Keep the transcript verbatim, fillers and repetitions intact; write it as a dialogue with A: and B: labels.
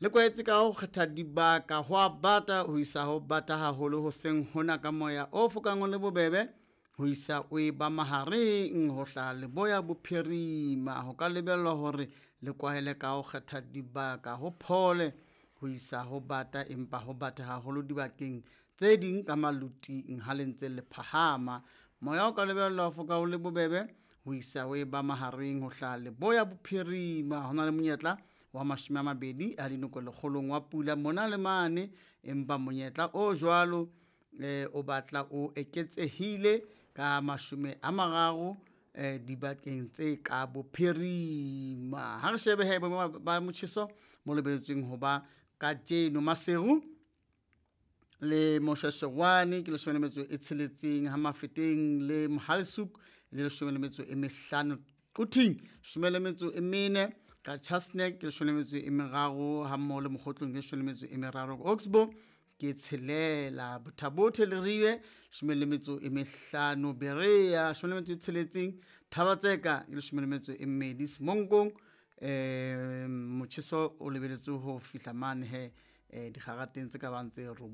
A: Le kwahetse ka ho kgetha dibaka ho a bata ho isa ho bata haholo hoseng hona ka moya o fokang o le bobebe ho isa o e ba mahareng ho hlaha leboya bophirima. Ho ka lebellwa hore le kwahele ka ho kgetha dibaka ho phole ho isa ho bata empa ho bata haholo dibakeng tse ding ka maloting ha le ntse le phahama. Moya o ka lebellwa ho foka o le bobebe ho isa ho e ba mahareng ho hlaha leboya bophirima. Ho na le monyetla wa mashome a mabedi a dinoko lekgolong wa pula mona le mane, empa monyetla o jwalo eh, o batla o eketsehile ka mashome a mararo eh, dibakeng tse ka bophirima. Ha re shebe he boemo ba motjheso mo lebelletsweng ho ba kajeno. Maseru le Moshweshwe ke leshome le metso e tsheletseng, ha Mafeteng le Mohale'shoek le leshome le metso e mehlano, Quthing leshome le metso e mene, Qacha's Nek ke leshome le metso e meraro, ha mmoho le Mokhotlong ke leshome le metso e meraro, Oxbow ke tshelela, Botha-Bothe le Leribe leshome le metso e mehlano, Berea leshome le metso e tsheletseng, Thaba-Tseka ke leshome le metso e mmedi, Semonkong eh motjheso o lebelletswe ho fihla mane he eh dikgarateng tse ka bang tse robong.